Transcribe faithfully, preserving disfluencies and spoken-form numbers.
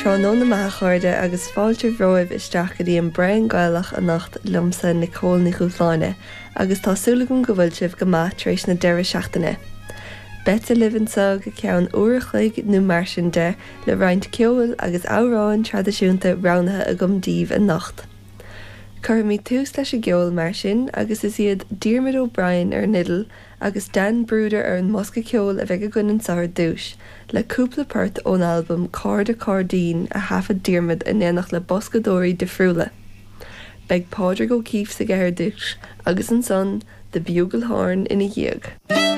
Tráthnóna maith a chairde agus fáilte romhaibh isteach go dtí an Braon Gaelach anocht liomsa Nicole Ní Dhúshláine, agus tá súil agam go bhfuil sibh go maith tar éis na deireadh seachtaine. Beidh libh anseo go ceann uair a chloig nó mar sin de le roinnt ceoil agus amhráin traidisiúnta roghnaithe agam daoibh anocht. Cuirfimid tús leis an gceol mar sin agus is iad Diarmuid O'Brien ar an fhidil agus Dan Brouder ar an mbosca ceoil a bheidh againn anseo ar dtús, le cúpla port ón albam Cairde Cairdín a thaifead Diarmuid in éineacht le boscadóirí difriúla. Beidh Pádraig O'Keeffe sa gceathair dúis agus ansan The Bugle Horn ina dhiaidh.